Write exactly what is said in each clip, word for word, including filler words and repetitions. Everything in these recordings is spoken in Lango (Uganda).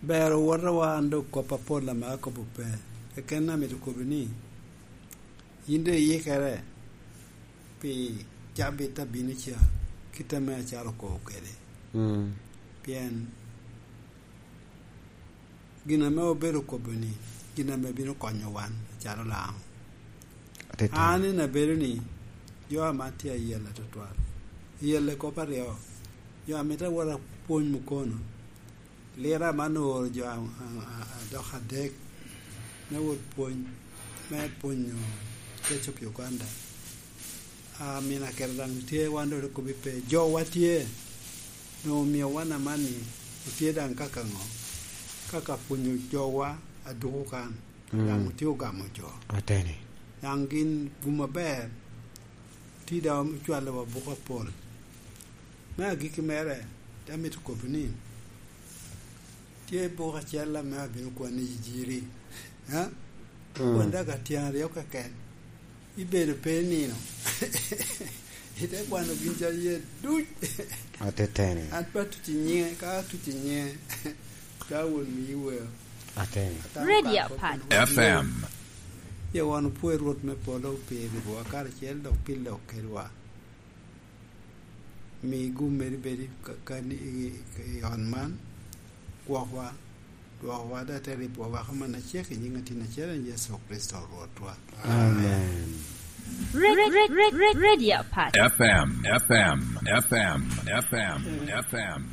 Ber owotowa an dok kop apol ame akobo pe. Keken amito kobo ni, yin doŋ iyikere pi cabit a bino ca, kit ame acalo okobo kwede. Mm. Pien gin ame obedo kobo ni, gin ame bino konyo wan acalo Laŋo. Atitidi. An en abedo ni, jo ame atye ayela tutwal. Ayela i kop aryo. Jo amito awot apwony mukono. Lira ame an ooro jo a, a, a, a dok adek me wot pwony, me pwonyo Church of Uganda. A, mina kero daŋ tye, wan doŋ kobbi pe. Jowa tye, doŋ omio wan amanni, otye daŋ kaka ŋo? Kaka pwonyo jowa aduku kan, mm, daŋ otye ogamo jo. Ateni. Daŋ gin gum aber, tye daŋ ocwalowa buko apol. Me agikki mere, te amito kobbi ni, tye buk acel ame abino kwanni i jiri. Ha? Mm. Kwon daga tyen aryo keken. Ibedo pe nino. Ite kwano gin ca iye duc. Ateteni. An pe atuc i nyiŋe, ka atuc i nyiŋe, ka won miyi weo. Ateni. Ata Radio okako Pat. Keno F M. Ye wan opwoyo Rwot me polo pi riwowa karacel dok pi lok kedwa. Mi gum meri bed i ka-, ka-, i, i, i ot man, gwokwa, dwokowa, dok te ribowa waka manna cek i nyiŋ Atin acel en Yecu Kricito Rwotwa. Amen. Re-, re-, re-, re-, Radio Pat. F M, F M, F M, F M, F M.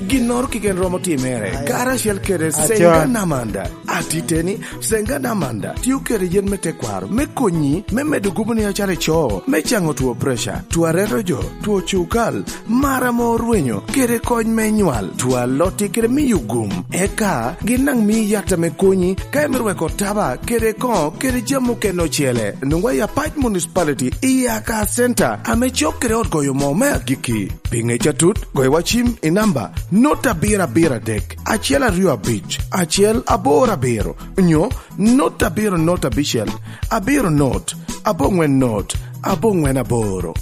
Ginnoro keken romo timere, karacel kede Senga Namanda. Atiteni, Senga Namanda tio kede yen me tekwaro me konyi me medo guboni acalo ico, me caŋo two preca, two areto jo, two cukal, mar ame orwenyo, kede kony me nywal, two alotti kede miyo gum. Eka gin daŋ mii yat ame konyi ka imito weko taba kede koŋo kede jami okene ocele. Nwoŋwa i Apac Municipality, i Aka Center, ame cok kede ot goyo moo me agikki. Pi ŋec atut, goywa cim i namba not abiro abiro adek, acel aryo abic, acel aboro abiro, nyo not abiro not abicel, abiro not, aboŋwen not, aboŋwen aboro.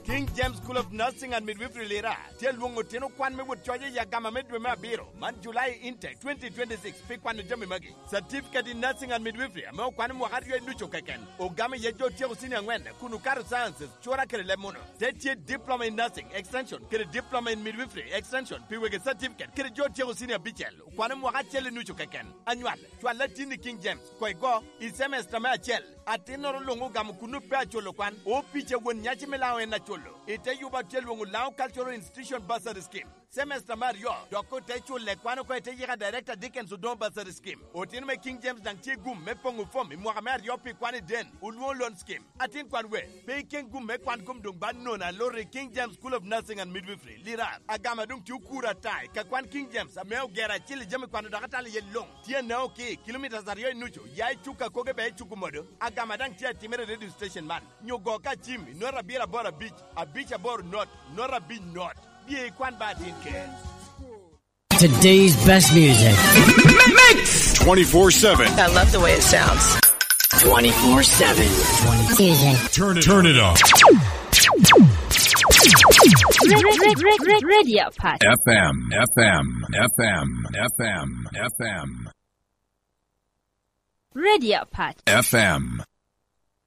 King James School of Nursing and Midwifery Lira tye lwoŋo otino kwan me wot coc i agama me dwe me abiro man, July intake twenty twenty-six, pi kwano jami magi. Certificate in Nursing and Midwifery ame okwano mwaka aryo i nucu keken, ogamo iye jo otyeko cinia aŋwen kun okato sciences, cura kede leb munu. Te tye Diploma in Nursing Extension kede Diploma in Midwifery Extension pi wegi certificate kede jo otyeko cinia abicel, okwano mwaka acel i nucu keken. Anywal, cwal latinni King James, koŋ igo i cemesta me acel. Atinnoro luŋ ogamo kunnu pe aculo kwan, opic a won nyaci me Laŋo en aculo. I te yuba tye lwoŋo Laŋo Cultural Institution Bursary Scheme. Semester me aryo, dok ote culle kwan oko i te yika Director Dickens Odongo Bursary Scheme. Otino me King James daŋ tye gum me poŋo fom i mwaka me aryo pi kwan i den, Olwoŋo Loan Scheme. Atin kwan we, pe iken gum me kwan gum doŋ ba nono aloro i King James School of Nursing and Midwifery, Lirar. Agama doŋ tye okuro ata i ka kwan King James ame ogero acil i jami kwano dok atalo iye luŋ. Tye Anaoki, kilometres aryo i nucu, ya i Cuka koge bea i Cuku Modo. Agama daŋ tye atimere i radio station man. Nyo go ka cim i not abiro aboro abic, abic aboro not, not abic not. Bye ikwan ba atin ker. Today's best music. Mix twenty-four seven. I love the way it sounds. Twenty-four seven. Music. Turn it, turn it up. Re-, re-, re-, re-, Radio Pat. F M, F M, F M, F M, F M. Radio Pat. F M.